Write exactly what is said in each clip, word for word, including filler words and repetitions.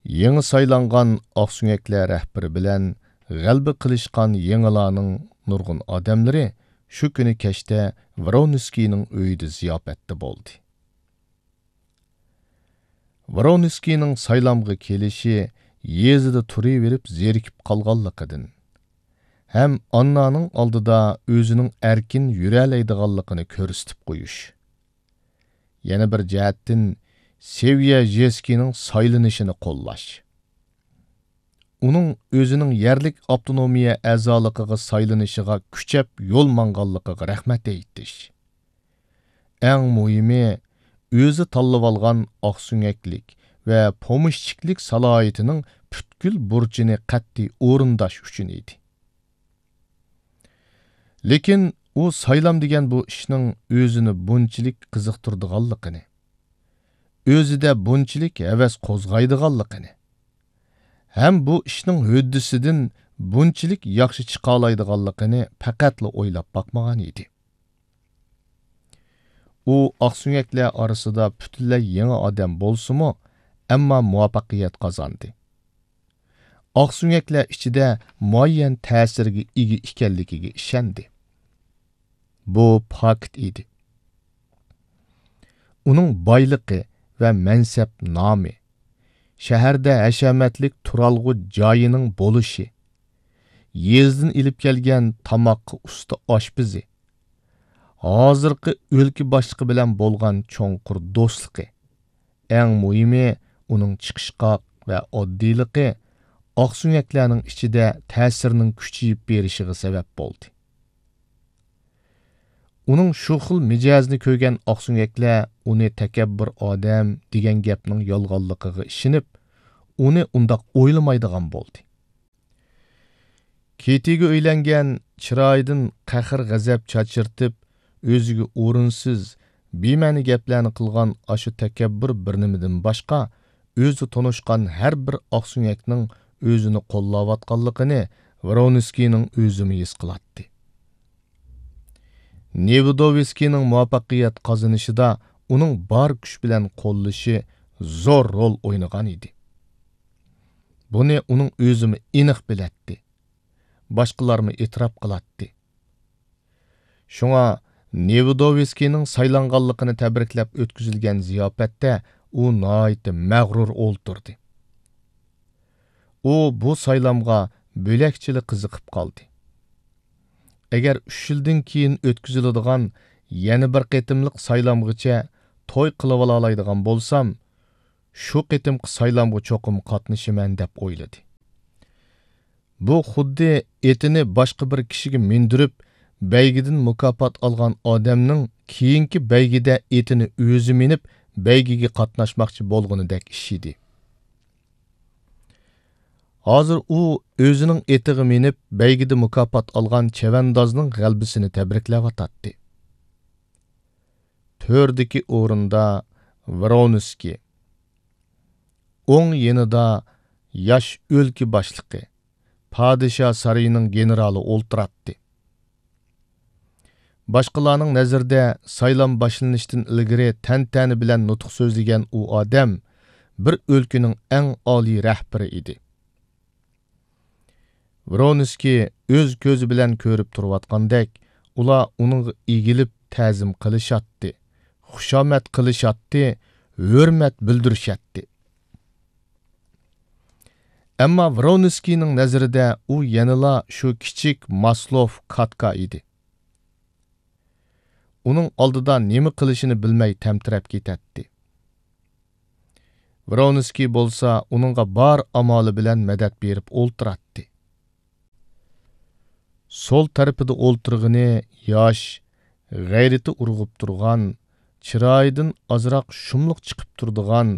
يېڭى سايلانغان ئاقسۆڭەكلەر رەھبىرى بىلەن غەلىبە قىلىشقان يېڭىلارنىڭ نۇرغۇن ئادەملىرى شۇ كۈنى كەچتە ۋرونسكىينىڭ ئۆيىدە زىياپەتتە بولدى. ۋرونسكىينىڭ سايلامغا كېلىشى يېزىدا تۇرۇۋېرىپ زېرىكىپ قالغانلىقىدىن ھەم ئاننانىڭ ئالدىدا ئۆزىنىڭ ئەركىن يۈرەلەيدىغانلىقىنى كۆرسىتىپ قويۇش. يەنە بىر جەھەتتىن، سېۋيەژېسكىنىڭ سايلىنىشىنى قوللاش. ئۇنىڭ ئۆزىنىڭ يەرلىك ئاپتونومىيە ئەزالىقىغا سايلىنىشىغا كۈچەپ يول ماڭغانلىقىغا رەھمەت ئېيتىش. ئەڭ مۇھىمى، ئۆزى تاللىۋالغان ئاقسۆڭەكلىك ۋە پومېشچىكلىك سالاھىيىتىنىڭ پۈتكۈل بۇرچىنى قەتئىي ئورۇنداش ئۈچۈن ئىدى. لېكىن ئۇ سايلام دېگەن بۇ ئىشنىڭ ئۆزىنى بۇنچىلىك قىزىقتۇرىدىغانلىقىنى، ئۆزىدە بۇنچىلىك ھەۋەس قوزغايدىغانلىقىنى ھەم بۇ ئىشنىڭ ھۆددىسىدىن بۇنچىلىك ياخشى چىقالايدىغانلىقىنى پەقەتلا ئويلاپ باقمىغان ئىدى. ئۇ ئاقسۆڭەكلەر ئارىسىدا پۈتۈنلەي يېڭى ئادەم بولسىمۇ، ئەمما مۇۋەپپەقىيەت قازاندى. ئاقسۆڭەكلەر ئىچىدە مۇئەييەن تەسىرگە ئىگە ئىكەنلىكىگە ئىشەندى. بۇ پاكىت ئىدى. ئۇنىڭ بايلىقى ۋە مەنسەپ نامى، شەھەردە ھەشەمەتلىك تۇرالغۇ جايىنىڭ بولۇشى، يېزىدىن ئېلىپ كەلگەن تاماققا ئۇستا ئاشپىزى، ھازىرقى ئۆلكە باشلىقى بىلەن بولغان چوڭقۇر دوستلۇقى، ئەڭ مۇھىمى، ئۇنىڭ چىقىشقاق ۋە ئاددىيلىقى ئاقسۆڭەكلەرنىڭ ئىچىدە تەسىرىنىڭ كۈچىيىپ بېرىشىغا سەۋەب بولدى. ئۇنىڭ شۇ خىل مىجەزىنى كۆرگەن ئاقسۆڭەكلەر ئۇنى تەكەببۇر ئادەم دېگەن گەپنىڭ يالغانلىقىغا ئىشىنىپ، ئۇنى ئۇنداق ئويلىمايدىغان بولدى. كېتىگە ئۆيلەنگەن، چىرايىدىن قەھر-غەزەپ چاچرىتىپ، ئۆزىگە ئورۇنسىز، بىمەنە گەپلەرنى قىلغان ئاشۇ تەكەببۇر بىر نېمىدىن باشقا، ئۆزى تونۇشقان ھەر بىر ئاقسۆڭەكنىڭ ئۆزىنى قوللاۋاتقانلىقىنى ۋرونسكىينىڭ ئۆزىمۇ ھېس قىلاتتى. نېۋېدوۋسكىينىڭ مۇۋەپپەقىيەت قازىنىشىدا ئۇنىڭ بار كۈچ بىلەن قوللىشى زور رول ئوينىغان ئىدى. بۇنى ئۇنىڭ ئۆزىمۇ ئېنىق بىلەتتى. باشقىلارمۇ ئېتىراپ قىلاتتى. شۇڭا نېۋېدوۋسكىينىڭ سايلانغانلىقىنى تەبرىكلەپ ئۆتكۈزۈلگەن زىياپەتتە ئۇ ناھايىتى مەغرۇر ئولتۇردى. ئۇ بۇ سايلامغا بۆلەكچىلا قىزىقىپ قالدى. ئەگەر ئۈچ يىلدىن كېيىن ئۆتكۈزۈلىدىغان يەنە بىر قېتىملىق سايلامغىچە توي قىلىۋالالايدىغان بولسام، شۇ قېتىمقى سايلامغا چوقۇم قاتنىشىمەن، دەپ ئويلىدى. بۇ خۇددى ئېتىنى باشقا بىر كىشىگە مىندۈرۈپ، بەيگىدىن مۇكاپات ئالغان ئادەمنىڭ كېيىنكى بەيگىدە ئېتىنى ئۆزى مىنىپ، بەيگىگە قاتناشماقچى بولغىنىدەك ئىش ئىدى. ھازىر ئۇ ئۆزىنىڭ ئېتىغا مىنىپ، بەيگىدە مۇكاپات ئالغان چەۋەندازنىڭ غەلىبىسىنى تەبرىكلەۋاتاتتى. تۆردىكى ئورۇندا ۋرونسكىي. ئوڭ يېنىدا ياش ئۆلكە باشلىقى، پادىشاھ سارىيىنىڭ گېنېرالى ئولتۇراتتى. باشقىلارنىڭ نەزىرىدە سايلام باشلىنىشتىن ئىلگىرى تەنتەنە بىلەن نۇتۇق سۆزلىگەن ئۇ ئادەم بىر ئۆلكىنىڭ ئەڭ ئالىي رەھبىرى ئىدى. ۋرونسكىي ئۆز كۆزى بىلەن كۆرۈپ تۇرۇۋاتقاندەك، ئۇلار ئۇنىڭغا ئېگىلىپ تەزىم قىلىشاتتى، خۇشامەت قىلىشاتتى، ھۆرمەت بىلدۈرۈشەتتى. ئەمما ۋرونسكىينىڭ نەزىرىدە ئۇ يەنىلا شۇ كىچىك ماسلوف كاتكا ئىدى. ئۇنىڭ ئالدىدا نېمە قىلىشىنى بىلمەي تەمتىرەپ كېتەتتى. ۋرونسكىي بولسا ئۇنىڭغا بار ئامالى بىلەن مەدەت بېرىپ ئولتۇراتتى. سول تەرىپىدە ئولتۇرغىنى ياش، غەيرىتى ئۇرغۇپ تۇرغان، چىرايىدىن ئازراق شۇملۇق چىقىپ تۇرىدىغان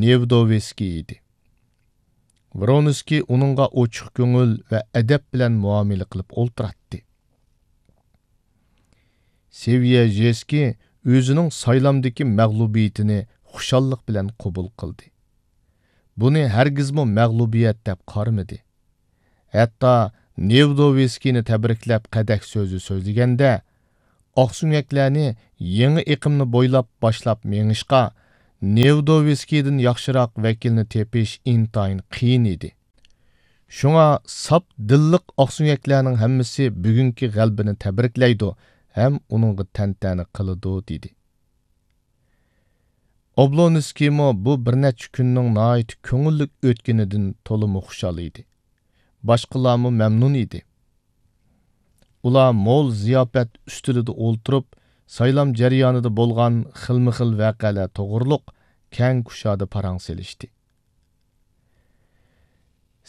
نېۋېدوۋسكىي ئىدى. ۋرونسكىي ئۇنىڭغا ئوچۇق كۆڭۈل ۋە ئەدەپ بىلەن مۇئامىلە قىلىپ ئولتۇراتتى. سېۋيەژېسكىي ئۆزىنىڭ سايلامدىكى مەغلۇبىيىتىنى خۇشاللىق بىلەن قوبۇل قىلدى. بۇنى ھەرگىزمۇ مەغلۇبىيەت دەپ قارىمىدى. ھەتتا نېۋېدوۋسكىينى تەبرىكلەپ قەدەھ سۆزى سۆزلىگەندە، ئاقسۆڭەكلەرنى يېڭى ئېقىمنى بويلاپ باشلاپ مېڭىشقا، نېۋېدوۋسكىيدىن ياخشىراق ۋەكىلنى تېپىش ئىنتايىن قىيىن ئىدى. شۇڭا ساپ دىللىق ئاقسۆڭەكلەرنىڭ ھەممىسى بۈگۈنكى غەلىبىنى تەبرىكلەيدۇ ھەم ئۇنىڭغا تەنتەنە قىلىدۇ، دېدى. ئوبلونسكىيمۇ بۇ بىر نەچچە كۈننىڭ ناھايىتى كۆڭۈللۈك ئۆتكىنىدىن تولىمۇ خۇشال ئىدى. باشقىلارمۇ مەمنۇن ئىدى. ئۇلار مول زىياپەت ئۈستىلىدە ئولتۇرۇپ، سايلام جەريانىدا بولغان خىلمۇخىل ۋەقەلەر توغرۇلۇق كەڭ كۇشادە پاراڭ سېلىشتى.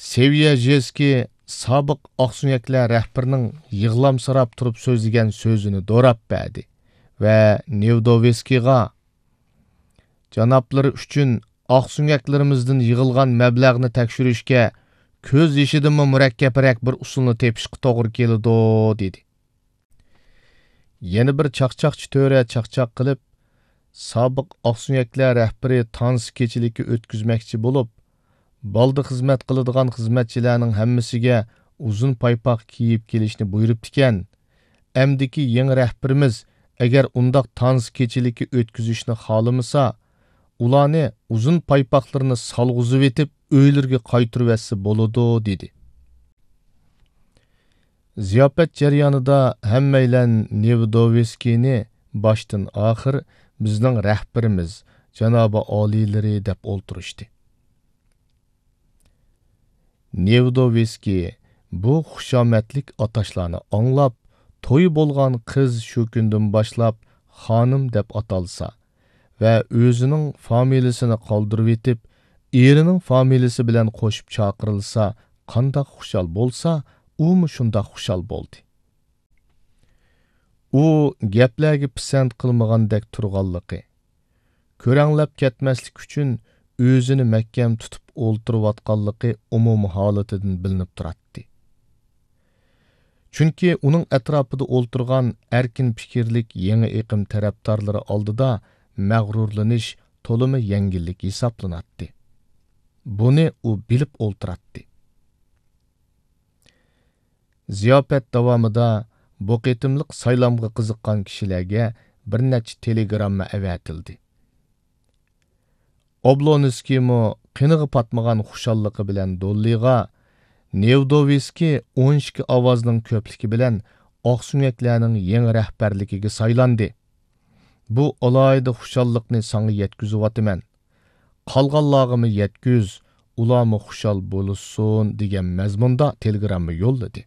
سېۋيەژېسكىي سابىق ئاقسۆڭەكلەر رەھبىرىنىڭ يىغلامسىراپ تۇرۇپ سۆزلىگەن سۆزىنى دوراپ بەردى ۋە نېۋېدوۋسكىيغا، جانابلىرى ئۈچۈن ئاقسۆڭەكلىرىمىزدىن يىغىلغان مەبلەغنى تەكشۈرۈشكە كۆز يېشىدىنمۇ مۇرەككەپرەك بىر ئۇسۇلنى تېپىشقا توغرا كېلىدۇ، دېدى. يەنە بىر چاقچاقچى تۆرە چاقچاق قىلىپ، سابىق ئاقسۆڭەكلەر رەھبىرى تانسا كېچىلىكى ئۆتكۈزمەكچى بولۇپ، بالدا خىزمەت قىلىدىغان خىزمەتچىلەرنىڭ ھەممىسىگە ئۇزۇن پايپاق كىيىپ كېلىشنى بۇيرۇپتىكەن. ئەمدىكى يېڭى رەھبىرىمىز ئەگەر ئۇنداق تانسا كېچىلىكى ئۆتكۈزۈشنى خالىمىسا، ئۇلارنى ئۇزۇن پايپاقلىرىنى سالغۇزۇۋېتىپ، ئۆيلىرىگە قايتۇرۇۋەتسە بولىدۇ، دېدى. زىياپەت جەريانىدا ھەممەيلەن نېۋېدوۋسكىينى باشتىن ئاخىر بىزنىڭ رەھبىرىمىز، جانابىي ئالىيلىرى دەپ ئولتۇرۇشتى. نېۋېدوۋسكىي بۇ خۇشامەتلىك ئاتاشلارنى ئاڭلاپ، تويى بولغان قىز شۇ كۈندىن باشلاپ خانىم دەپ ئاتالسا ۋە ئۆزىنىڭ فامىلىسىنى قالدۇرۇۋېتىپ، ئېرىنىڭ فامىلىسى بىلەن قوشۇپ چاقىرىلسا قانداق خۇشال بولسا، ئۇمۇ شۇنداق خۇشال بولدى. ئۇ گەپلەرگە پىسەنت قىلمىغاندەك تۇرغانلىقى، كۆرەڭلەپ كەتمەسلىك ئۈچۈن ئۆزىنى مەھكەم تۇتۇپ ئولتۇرۇۋاتقانلىقى ئومۇمىي ھالىتىدىن بىلىنىپ تۇراتتى. چۈنكى ئۇنىڭ ئەتراپىدا ئولتۇرغان ئەركىن پىكىرلىك يېڭى ئېقىم تەرەپدارلىرى ئالدىدا مەغرۇرلىنىش تولىمۇ يەڭگىللىك ھېسابلىناتتى. بۇنى ئۇ بىلىپ ئولتۇراتتى. زىياپەت داۋامىدا بۇ قېتىملىق سايلامغا قىزىققان كىشىلەرگە بىر نەچچە تېلېگرامما ئەۋەتىلدى. ئوبلونسكىيمۇ قېنىغا پاتمىغان خۇشاللىقى بىلەن دوللىغا، نېۋېدوۋسكىي ئون ئىككى ئاۋازنىڭ كۆپلۈكى بىلەن ئاقسۆڭەكلەرنىڭ يېڭى رەھبەرلىكىگە سايلاندى. بۇ ئالاھىدە خۇشاللىقنى ساڭا يەتكۈزۈۋاتىمەن. قالغانلارغىمۇ يەتكۈز، ئۇلارمۇ خۇشال بولۇشسۇن، دېگەن مەزمۇندا تېلېگرامما يوللىدى.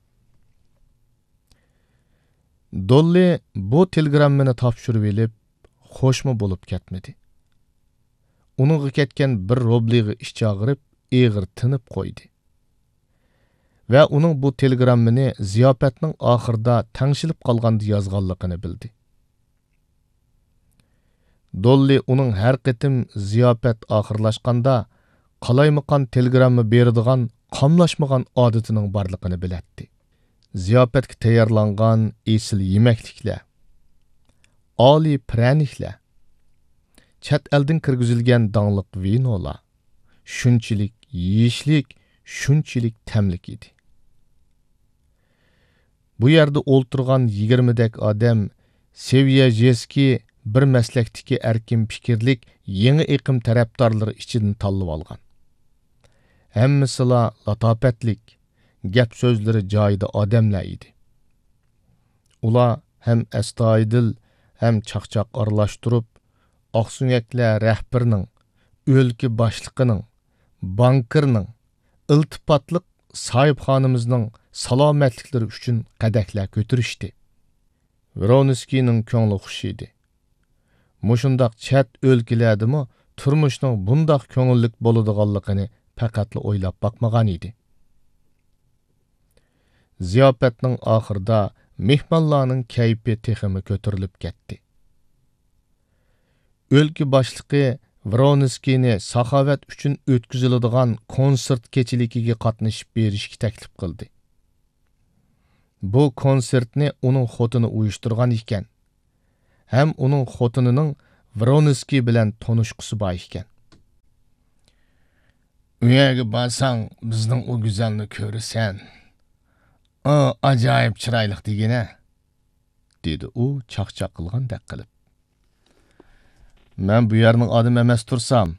دوللى بۇ تېلېگراممىنى تاپشۇرۇۋېلىپ، خوشمۇ بولۇپ كەتمىدى. ئۇنىڭغا كەتكەن بىر روبلىغا ئىچ ئاغرىپ، ئېغىر تىنىپ قويدى. ۋە ئۇنىڭ بۇ تېلېگراممىنى زىياپەتنىڭ ئاخىرىدا تەڭشىلىپ قالغاندا يازغانلىقىنى بىلدى. دوللى ئۇنىڭ ھەر قېتىم زىياپەت ئاخىرلاشقاندا قالايمىقان تېلېگرامما بېرىدىغان قاملاشمىغان ئادىتىنىڭ بارلىقىنى بىلەتتى. زىياپەتكە تەييارلانغان ئېسىل يېمەكلىكلەر، ئالىي پىرەنىكلەر، چەت ئەلدىن كىرگۈزۈلگەن داڭلىق ۋىنولار شۇنچىلىك يېيىشلىك، شۇنچىلىك تەملىك ئىدى. بۇ يەردە ئولتۇرغان يىگىرمىدەك ئادەم سېۋيەژېسكىي بىر مەسلەكتىكى ئەركىن پىكىرلىك يېڭى ئېقىم تەرەپدارلىرى ئىچىدىن تاللىۋالغان. ھەممىسىلا لاتاپەتلىك، گەپ سۆزلىرى جايىدا ئادەملەر ئىدى. ئۇلار ھەم ئەستايىدىل، ھەم چاقچاق ئارىلاشتۇرۇپ، ئاقسۆڭەكلەر رەھبىرىنىڭ، ئۆلكە باشلىقىنىڭ، بانكىرنىڭ، ئىلتىپاتلىق ساھىبخانىمىزنىڭ سالامەتلىكلىرى ئۈچۈن قەدەھلەر كۆتۈرۈشتى. ۋرونسكىينىڭ كۆڭلى خۇش ئىدى. مۇشۇنداق چەت ئۆلكىلەردىمۇ تۇرمۇشنىڭ بۇنداق كۆڭۈللۈك بولىدىغانلىقىنى پەقەتلا ئويلاپ باقمىغان ئىدى. زىياپەتنىڭ ئاخىرىدا مېھمانلارنىڭ كەيپى تېخىمۇ كۆتۈرۈلۈپ كەتتى. ئۆلكە باشلىقى ۋرونسكىينى ساخاۋەت ئۈچۈن ئۆتكۈزۈلىدىغان كونسېرت كېچىلىكىگە قاتنىشىپ بېرىشكە تەكلىپ قىلدى. بۇ كونسېرتنى ئۇنىڭ خوتۇنى ئۇيۇشتۇرغان ئىكەن. ھەم ئۇنىڭ خوتۇنىنىڭ ۋرونسكىي بىلەن تونۇشقۇسى بار ئىكەن. ئۇ يەرگە بارساڭ، بىزنىڭ ئۇ گۈزەلنى كۆرىسەن. ئۇ ئاجايىپ چىرايلىق دېگىنە، دېدى ئۇ چاقچاق قىلغاندەك قىلىپ. مەن بۇ يەرنىڭ ئادىمى ئەمەس تۇرسام،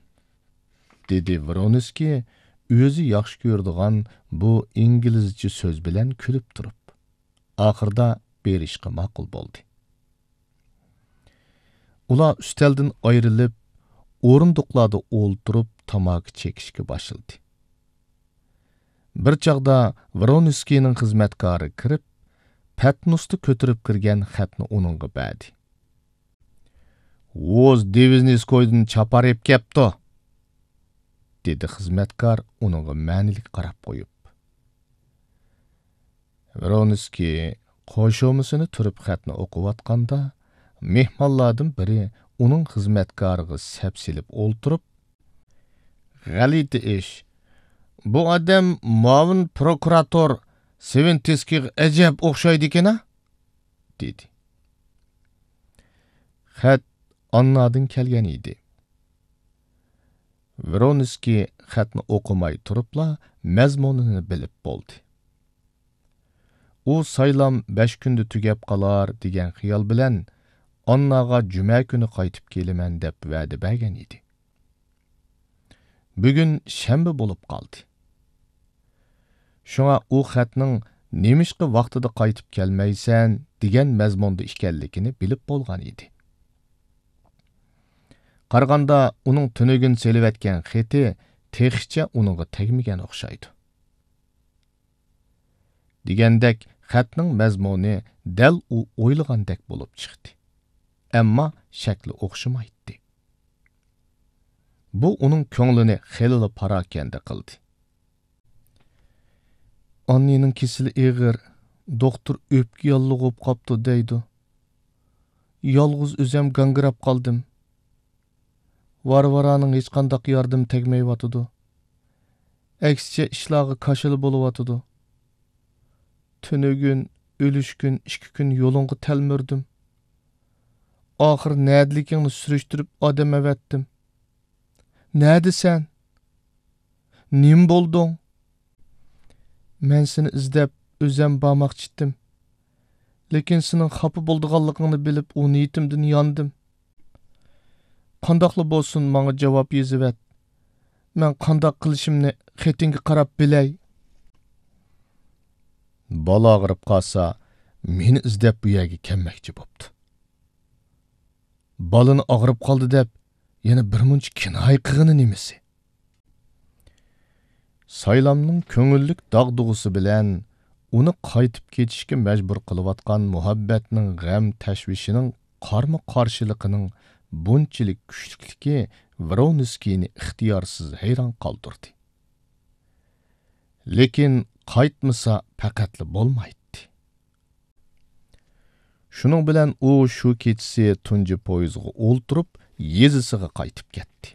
دېدى ۋرونسكىي ئۆزى ياخشى كۆرىدىغان بۇ ئىنگلىزچە سۆز بىلەن كۈلۈپ تۇرۇپ. ئاخىرىدا بېرىشقا ماقۇل بولدى. ئۇلار ئۈستەلدىن ئايرىلىپ، ئورۇندۇقلاردا ئولتۇرۇپ تاماكا چېكىشكە باشلىدى. بىر چاغدا ۋرونسكىينىڭ خىزمەتكارى كىرىپ، پەتنۇستا كۆتۈرۈپ كىرگەن خەتنى ئۇنىڭغا بەردى. «ۋوز دىۋىزنىسكويدىن چاپار ئېلىپ كەپتۇ»، دېدى خىزمەتكار ئۇنىڭغا مەنىلىك قاراپ قويۇپ. ۋرونسكىي قوشۇمىسىنى تۈرۈپ خەتنى ئوقۇۋاتقاندا، مېھمانلاردىن بىرى ئۇنىڭ خىزمەتكارىغا سەپسېلىپ ئولتۇرۇپ، «غەلىتە ئىش. بۇ ئادەم مۇئاۋىن پروكۇراتور سۋىنتىسكىيغا ئەجەب ئوخشايدىكەن-ە؟» دېدى. خەت ئاننادىن كەلگەن ئىدى. ۋرونسكىي خەتنى ئوقۇماي تۇرۇپلا مەزمۇنىنى بىلىپ بولدى. ئۇ سايلام بەش كۈندە تۈگەپ قالار دېگەن خىيال بىلەن ئانناغا جۈمە كۈنى قايتىپ كېلىمەن دەپ ۋەدە بەرگەن ئىدى. بۈگۈن شەنبە بولۇپ قالدى. شۇڭا ئۇ خەتنىڭ «نېمىشقا ۋاقتىدا قايتىپ كەلمەيسەن؟» دېگەن مەزمۇندا ئىكەنلىكىنى بىلىپ بولغان ئىدى. قارىغاندا، ئۇنىڭ تۈنۈگۈن سېلىۋەتكەن خېتى تېخىچە ئۇنىڭغا تەگمىگەن ئوخشايدۇ. دېگەندەك، خەتنىڭ مەزمۇنى دەل ئۇ ئويلىغاندەك بولۇپ چىقتى. ئەمما شەكلى ئوخشىمايتتى. بۇ ئۇنىڭ كۆڭلىنى خېلىلا پاراكەندە قىلدى. «ئاننىنىڭ كېسىلى ئېغىر، دوختۇر ئۆپكە ياللۇغى بولۇپ قاپتۇ» دەيدۇ. «يالغۇز ئۆزۈم گاڭگىراپ قالدىم. ۋارۋارانىڭ ھېچقانداق ياردىمى تەگمەيۋاتىدۇ. ئەكسىچە ئىشلارغا كاشىلا بولۇۋاتىدۇ. تۈنۈگۈن، ئۈلۈشكۈن ئىككى كۈن يولۇڭغا تەلمۈردۈم. ئاخىر نەدىلىكىڭنى سۈرۈشتۈرۈپ ئادەم ئەۋەتتىم. نەدىسەن؟ نېمە بولدۇڭ؟ مەن سېنى ئىزدەپ ئۆزۈم بارماقچىتتىم. لېكىن سېنىڭ خاپا بولىدىغانلىقىڭنى بىلىپ، ئۇ نىيىتىمدىن ياندىم. قانداقلا بولسۇن، ماڭا جاۋاب يېزىۋەت. مەن قانداق قىلىشىمنى خېتىڭگە قاراپ بىلەي.» بالا ئاغرىپ قالسا، مېنى ئىزدەپ بۇ يەرگە كەلمەكچى بوپتۇ. بالىنى ئاغرىپ قالدى دەپ، يەنە بىرمۇنچە كىنايە قىلغىنى نېمىسى؟ سايلامنىڭ كۆڭۈللۈك داغدۇغىسى بىلەن ئۇنى قايتىپ كېتىشكە مەجبۇر قىلىۋاتقان مۇھەببەتنىڭ غەم-تەشۋىشىنىڭ قارمۇ-قارشىلىقىنىڭ بۇنچىلىك كۈچلۈكلۈكى ۋرونسكىينى ئىختىيارسىز ھەيران قالدۇردى. لېكىن قايتمىسا پەقەتلا بولمايتتى. شۇنىڭ بىلەن ئۇ شۇ كېچىسى تۇنجى پويىزغا ئولتۇرۇپ، يېزىسىغا قايتىپ كەتتى.